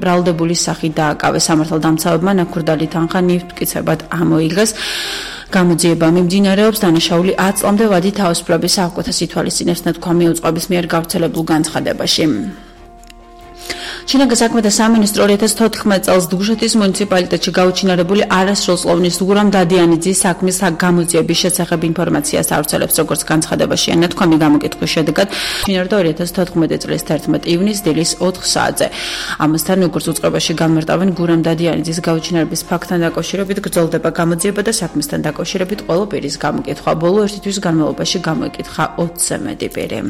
ბრალდებული სახით დააკავეს. სამართალდამცავებმა ნაქურდალი თანხა ნივთმტკიცებად ამოიღეს. გამოძიება მიმდინარეობს დანაშაული 10 წლამდე ვადი თავისუფლების აღკვეთას ითვალისწინებს ნათქვა მიუძღვების მიერ გავრცელებულ განცხადებაში. ჩინაგან საქმეთა სამინისტრო 2014 წელს დუშეთის მუნიციპალიტეტში გაუჩინარებული არასრულწლოვნის გურამ დადიანიძის საქმის გამოძიების შესახებ ინფორმაციას ავრცელებს, როგორც განცხადებაშია. ნათქვამი გამოკითხვის შედეგად ჩინარდა 2014 წლის 11 ივნის დილის 4 საათზე. ამასთან, როგორც უწყებაში განმარტავენ, გურამ დადიანიძის გაუჩინარების ფაქტთან დაკავშირებით გრძელდება გამოძიება და საქმისთან დაკავშირებით ყველა პირის გამოკითხვა. ბოლო ერთი თვის განმავლობაში გამოიკითხა 20-ზე მეტი პირი.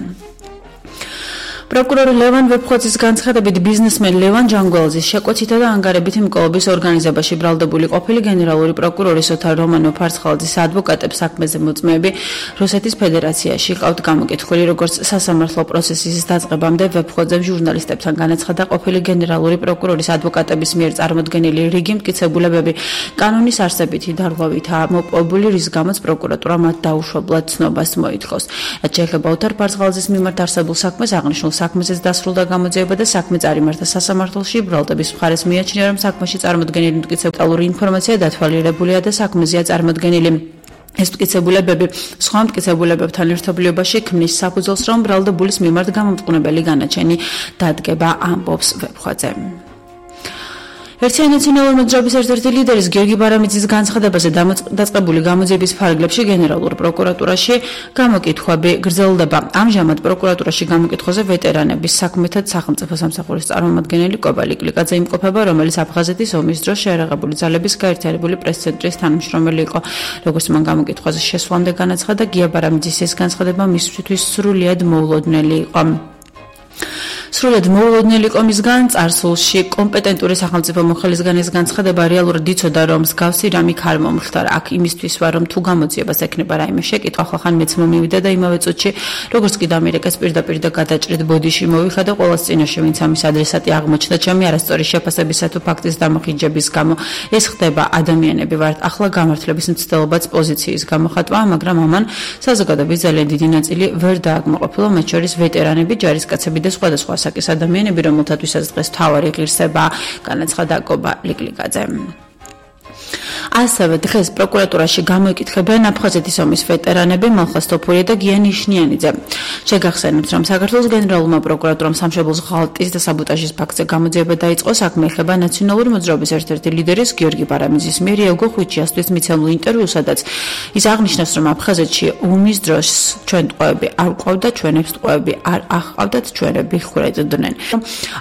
პროკურორი ლევან ვეფხვაძის განცხადებით ბიზნესმენ ლევან ჯანგველაძის შეკვეცითა და ანგარებითი მკვლობის ორგანიზებაში ბრალდებული ყოფილი გენერალური პროკურორი ოთარ რომანო-ფარცხალაძის ადვოკატებს საქმეზე მოწმეები რუსეთის ფედერაციაში ყავთ გამოკითხვილი, როგორც სასამართლო პროცესის დაწყებამდე ვეფხვაძემ ჟურნალისტებთან განაცხადა ყოფილი გენერალური პროკურორის ადვოკატების მიერ წარმოდგენილი რიგი მტკიცებულებები კანონის არსებითი დარღვევითაა მოპოვებული, რის გამოც პროკურატურა მათ დაუშვებლად ცნობას მოითხოვს. რაც შეეხება ოთარ ფარცხალაძის მიმართ არსებულ საქმეს, აღნიშნულ საქმეზეც დასრულდა გამოძიება და საქმე წარიმართა სასამართლოში. ბრალდების მხარეს მიაჩნია, რომ საქმეში წარმოდგენილი მტკიცებულური ინფორმაცია დათვალიერებულია და საქმეზეა წარმოდგენილი. ეს მტკიცებულებები სხვა მტკიცებულებებთან ერთობლიობაში ქმნის საფუძველს, რომ ბრალდებულის მიმართ გამომწყნებელი განაჩენი დადგება, ამბობს ვეფხვაძე. ერთიანი ნაციონალური მოძრაობის ერთ-ერთი ლიდერის გიორგი ბარამიძის განცხადებაზე დაწყებული გამოძიების ფარგლებში გენერალურ პროკურატურაში გამოკითხვები გრძელდება. ამჟამად პროკურატურაში გამოკითხვაზე ვეტერანების საქმეთა სახელმწიფო სამსახურის წარმომადგენელი კობა ლიკლიკაძე იმყოფება, რომელიც აფხაზეთის ომის დროს შეერაღებული ძალების გაერთიანებული პრეს-ცენტრის თანამშრომელი იყო. როგორც მან გამოკითხვაზე შესვლამდე განაცხადა, გია ბარამიძის ეს განცხადება მისთვის სრულიად მოულოდნელი იყო. სრულად მოულოდნელი იყო მისგან წარსულში კომპეტენტური სახელმწიფო მოხელისგან ეს განცხადება რეალურად იცოდა, რომ მსგავსი რამე არ მომხდარა. აქ იმისთვის ვარ, რომ თუ გამოძიებას ექნება რაიმე შეკითხვა, ხალხან მეც მომივიდა და იმავე წუთში, როგორც კი დამირეკეს პირდაპირ და გადაჭრით ბოდიში მოვიხადა ყოველს წინაშე, ვინც ამის ადრესატი აღმოჩნდა ჩემი არასწორი შეფასებისა თუ ფაქტის დამოხიჯების გამო. ეს ხდება ადამიანები ვართ, ახლა გამართლების მცდელობაც პოზიციის გამოხატვა, მაგრამ ამან საზოგადოების ძალიან დიდი ნაწილი ვერ დააკმაყოფილა, მათ შორის ვეტერანები, ჯარისკაცები და სხვადასხვა საკის ადამიანები, რომელთათვისაც დღეს მთავარი ღირსებაა, განაცხადა კობა ლიკლიკაძე. ასევე დღეს პროკურატურაში გამოიკითხებიან აფხაზეთის ომის ვეტერანები მალხაზ თოფურია და გია ნიშნიანიძე. შეგახსენებთ, რომ საქართველოს გენერალურმა პროკურატურამ სამშობლოს ღალატის და საბოტაჟის ფაქტზე გამოძიება დაიწყო. საქმე ეხება ნაციონალური მოძრაობის ერთ-ერთი ლიდერის გიორგი ბარამიძის მიერ იაგო ხვიჩიასთვის მიცემულ ინტერვიუს, სადაც ის აღნიშნავს, რომ აფხაზეთში ომის დროს ჩვენ ტყვეები არ ყავდა, ჩვენებს ტყვეები არ აჰყავდათ, ჩვენები ხვრეწდნენ.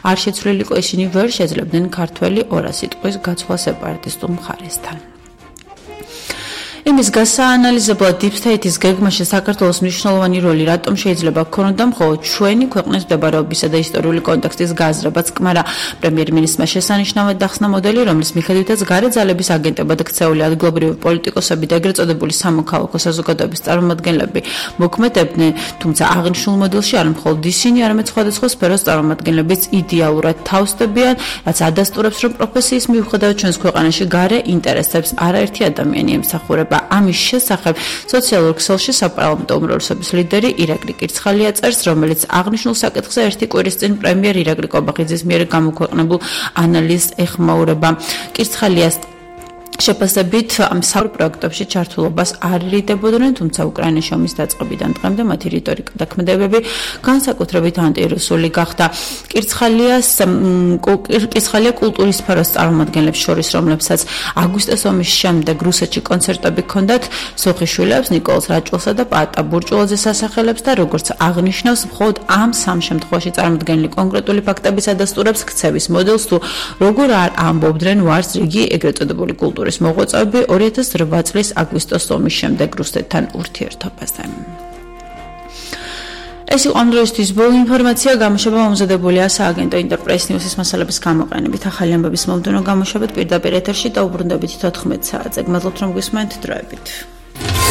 არ შეცვლილიყო ისინი ვერ შეძლებდნენ ქართველი 200 ტყვის გაცვლა სეპარატისტულ მხარესთან. იმის გასაანალიზებლად Deep State-ის გეგმაში საქართველოს მნიშვნელოვანი როლი რატომ შეიძლება გქონოდა მხოლოდ ჩვენი ქვეყნის მდებარეობისა და ისტორიული კონტექსტის გააზრებაც კმარა. პრემიერ-მინისტრმა შესანიშნავად დახსნა მოდელი, რომლის მიხედვითაც გარე ძალების აგენტებად ქცეული ადგილობრივი პოლიტიკოსები და ეგრეთ წოდებული სამოქალაქო საზოგადოების წარმომადგენლები მოქმედებდნენ, თუმცა აღნიშნულ მოდელში არ მხოლოდ ისინი, არამედ სხვადასხვა სფეროს წარმომადგენლებიც იდეალურად თავსდებიან, რაც ადასტურებს, რომ პროფესიის მიუხედავად ჩვენს ქვეყანაში გარე ინტერესებს არაერთი ადამიანი ემსახურება. ამის შესახებ სოციალურ ქსელში საპარლამენტო უმრავლესობის ლიდერი ირაკლი კირცხალია წერს, რომელიც აღნიშნულ საკითხზე ერთი კვირის წინ პრემიერ ირაკლი კობახიძის მიერ გამოქვეყნებულ ანალიზს ეხმაურება. კირცხალიას შეფასებით ამ სამ პროექტებში ჩართულობას არ ერიდებოდნენ, თუმცა უკრაინის ომის დაწყებიდან დღემდე მათი რიტორიკა და ქმედებები განსაკუთრებით ანტირუსული გახდა. კირცხალია კულტურის სფეროს წარმომადგენლებს შორის, რომლებსაც აგვისტოს ომის შემდეგ რუსეთში კონცერტები ჰქონდათ, სოხიშვილებს, ნიკოლოზ რაჭულსა და პაატა ბურჭულაძეს ასახელებს და როგორც აღნიშნავს, მხოლოდ ამ სამ შემთხვევაში წარმოდგენილი კონკრეტული ფაქტების ადასტურებს ქცევის მოდელს, თუ როგორ არ ამბობდნენ ვარს რიგი ეგრეთ წოდებული კულტურის მოღვაწეები 2008 წლის აგვისტოს ომის შემდეგ რუსეთთან ურთიერთობაზე. ეს იყო ამ დროისთვის ბოლო ინფორმაცია. გამოშვება მომზადებულია სააგენტო ინტერპრეს ნიუსის მასალების გამოყენებით. ახალი ამბების მომდევნო გამოშვებით პირდაპირ ეთერში და უბრუნდებით 14 საათზე. გმადლობთ, რომ გვისმენთ დროებით.